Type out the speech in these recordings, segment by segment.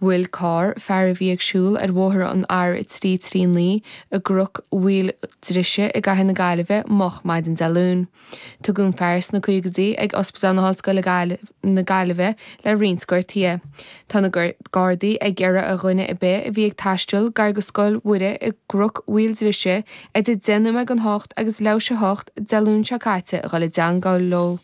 Bhuail carr fear a bhí ag siúl ar bhóthar an R339 i gCnoc Mhaoil Drise i gcathair na Gaillimhe moch maidin Dé Luain. Tugadh an fear sna caogaidí ag Ospidéal na hOllscoile na Gaillimhe le roinnt gortuithe. Tá na Gardaí ag iarraidh ar dhuine ar bith a bhí ag taisteal gar go Scoil Mhuire i gCnoc Mhaoil Drise idir 10 nóiméad don hocht agus leathuair théis a hocht Dé Luain seo caite a dhul i dteangmháil leo.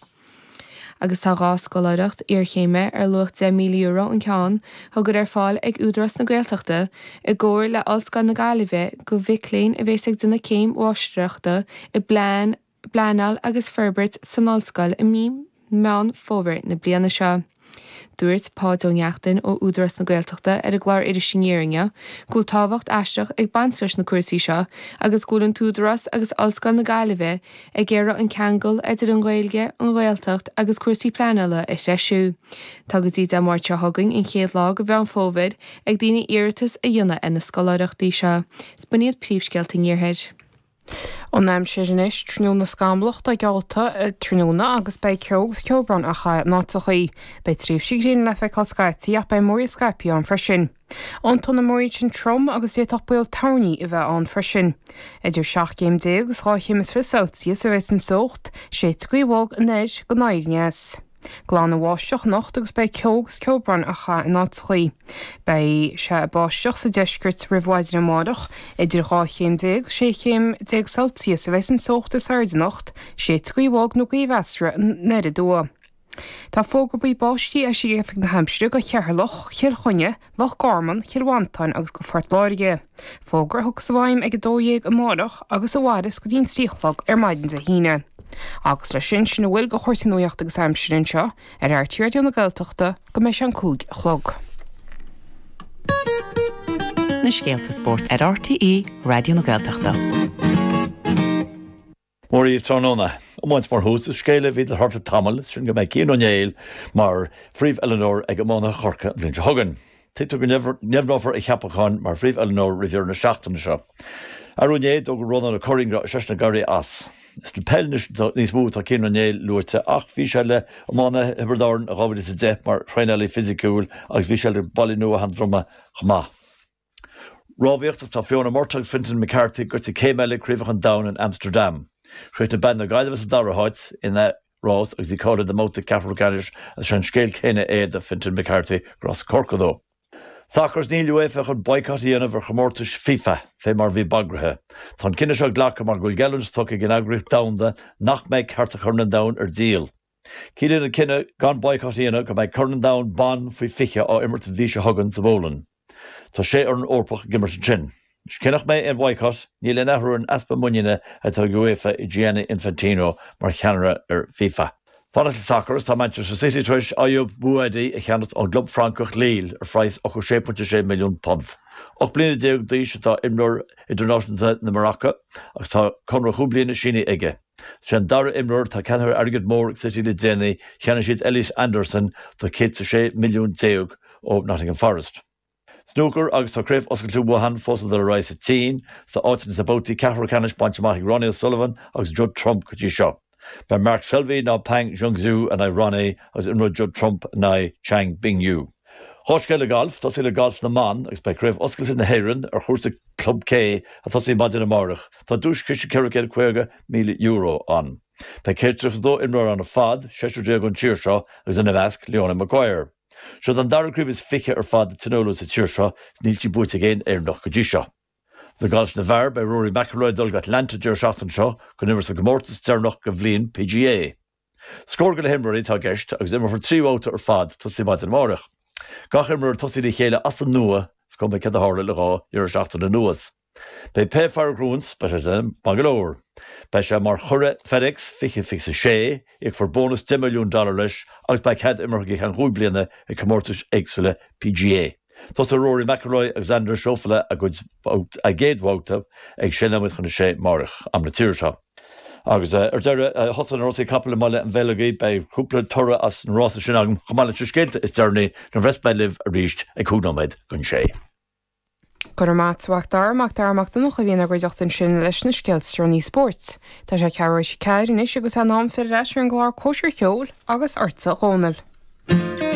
Agus tá 2 scoláireacht iarchéime ar luach €10,000 an ceann á gcur ar fáil ag Údarás na Gaeltachta i gcomhar le Ollscoil na Gaillimhe do mhic léinn a bhéas ag déanamh céim mháistreachta i bPleanáil agus Forbairt san Ollscoil i mí Meán Fómhair na bliana seo. Dúirt Páid Ó Neachtain ó Údarás na Gaeltachta ar an gclár Iris Aniar inniu go bhfuil tábhacht aisteach ag baint leis na cúrsaí seo agus go bhfuil an tÚdarás agus Ollscoil na Gaillimhe ag iarraidh an ceangal idir an Ghaeilge, an Ghaeltacht agus cúrsaí pleanála a threisiú. Tá go dtí Dé Máirt seo chugainn, an chéad lá de Mheán Fómhair, ag daoine iarratas a dhéanamh ar na scoláireachtaí seo. 'S b'in iad príomhscéalta an Iarthair. An aimsir anois, tráthnóna scamallach atá geallta tráthnóna agus beidh ceo agus ceobhrán á chaitheamh in áiteachaí. Beidh tréimhsí gréine le feiceáil scaití ach beidh múraíl scaipthe ann freisin. Tiontóidh na múraíl sin trom agus d'fhéadfadh baol toirní a bheith ann freisin. Idir 17 céim agus 2 chéim is 20 Celsius a bheas an teocht, séidfidh gaoth bhog anoir go anoir aneas. Glan an bháisteach anocht agus beidh ceo agus ceobhrán á chaitheamh in áiteachaí. Beidh sé ag báisteach sa deisceart roimh mhaidin amárach. Idir 12 chéim 16 chéim Celsius a bheas an teocht is airde anocht, séidfidh gaoth bhog nó gaoth mheasartha anoir aduaidh. Tá fógra buí báistí eisithe ag Oifig na hAimsire do Cheatharlach, Chill Chainnigh, Loch Garman, Cill Mhantáin agus do Phort Láirge. Fógra a thiocfas i bhfeidhm ag 12 amárach agus a mhairfeas go dtí an 3 a chlog ar maidin Dé hAoine. Agus leis sin, sin a bhfuil de chúrsaí nuachta agus aimsire anseo ar RTÉ Raidió na Gaeltachta go mbeidh sé an 5 a chlog. Na scéalta spóirt ar RTÉ Raidió na Gaeltachta. Mora dhaoibh tráthnóna. Iomáint mar thús, is scéal é a bhí le tarlú le tamall, sin go mbeidh Cian Ó Néill mar phríomh-oiliúnóir ag iománaithe Chorcaí an bhliain seo chugainn. Tuigtear go ndeimhneofar a cheapachán mar phríomh-oiliúnóir roimh dheireadh na seachtaine seo. Arú inné, d'fhógair Rónán Ó Curraoin go raibh seisean ag éirí as. Is le peil anois níos mó atá Cian Ó Néill luaite ach bhí sé le iománaithe Thiobraid Árann in 2010 mar thraenálaí fisiciúil agus bhí sé le Baile Nua Sheandroma chomh maith. Rámhaíocht Agus tá Fiona Murtagh agus Fintan McCarthy gaibhte céim eile ag Craobhacha an Domhain in Amsterdam. Chríochnaigh bean na Gaillimhe sa dara háit ina rás agus í cáilithe do mbabhta ceathrú ceannais agus sé an scéal céanna é do Fintan McCarthy gur as Corcaigh dó. Sacar Is níl UEFA chun boycott a dhéanamh ar chomórtais FIFA fé mar a bhí bagraithe. Tá an cinneadh seo glactha mar go bhfuil geallúint tugtha ag an eagraíocht domhanda nach mbeidh cearta Chorn an Domhain ar díol. Ciallaíonn an cinneadh gan boycott a dhéanamh go mbeidh Corn an Domhain Ban faoi 20 á imirt an mhí seo chugainn sa bPolainn. Tá sé fhoireann Eorpach ag imirt ansin. Anois cé nach mbeidh aon bhoycott, níl aon athrú ar an easpa muiníne atá ag UEFA i Gianni Infantino mar cheannaire ar FIFA. Fanacht le sacar is tá Manchester City tar éis Ayyoub Bouaddi a cheannacht ón gclub Francach Lille ar phraghas £86.6 milliún. 18 bliana d'aois atá imreoir idirnáisiúnta na Maraice agus tá conradh chúig bliana sínithe aige. Sé an dara imreoir atá ceannaithe ar airgead mór ag City le déanaí, cheannaigh siad Elliot Anderson do 116 milliún ó Nottingham Forest. Snúcar agus tá Craobh Oscailte Wuhan fós ag dul ar aghaidh sa tSín, is tá áiteanna sna babhtaí ceathrú ceannais bainte amach ag Ronnie O'Sullivan agus Judd Trump go dtí seo. Beidh Mark Selby ná Pang Junxu in aghaidh Ronnie agus imreoidh Judd Trump in aghaidh Chang Bingyu. Dhá scéal le galf, tosaí le galf na mban agus beidh Craobh Oscailte na hÉireann ar chúrsa Club K ag tosaí maidin amárach. Tá duaischiste €450,000 ann. Beidh 132 imreoir ann ar fad, seisear déag ón tír seo agus ina measc, Leona Maguire. Seod an dara craobh is fiche ar fad a tionóladh sa tír seo is níl sí buaite ag aon Éireannach go dtí seo. Sa ghalf na bhfear, beidh Rory McIlroy ag dul go Atlanta an deireadh seachtaine seo chun imirt sa gcomórtas deireanach den bhliain PGA. Scór go leith imreoirí atá i gceist agus imreofar 3 bhabhta ar fad tosaí maidin amárach. Gach imreoir ag tosaí le chéile as an nua, is cuma céard a tharla le dhá dheireadh seachtaine anuas. Beidh pé fear a ghnóthós, beidh sé maith go leor. Beidh sé mar churadh FedEx 2026, íocfar bónas $10 milliún leis agus beidh cead imeartha go ceann chúig bliana ag comórtais éagsúla PGA. Tosóidh Rory McIlroy agus Xander Schauffele a gcuid a gcéad bhabhta ag sé nóiméad chun a sé amárach, am na tíre seo. Agus ar deireadh, thosaigh na rásaí capall i mBaile an Bheilgigh. Beidh cúpla toradh as na rásaí sin agam, chomh maith leis na scéalta is deireanaí nuair a bheas mé libh arís ag cúig nóiméad don sé. Go raibh maith agat, a Mhac Dara, Mac Dara Mac Donncha a bhí inár gcuideachta ansin leis na scéalta is deireanaí spóirt. Tá sé ceathrú théis a ceathair anois agus é in am filleadh ar ais ar an gclár Cóisir Cheoil agus ortsa a Dhónaill.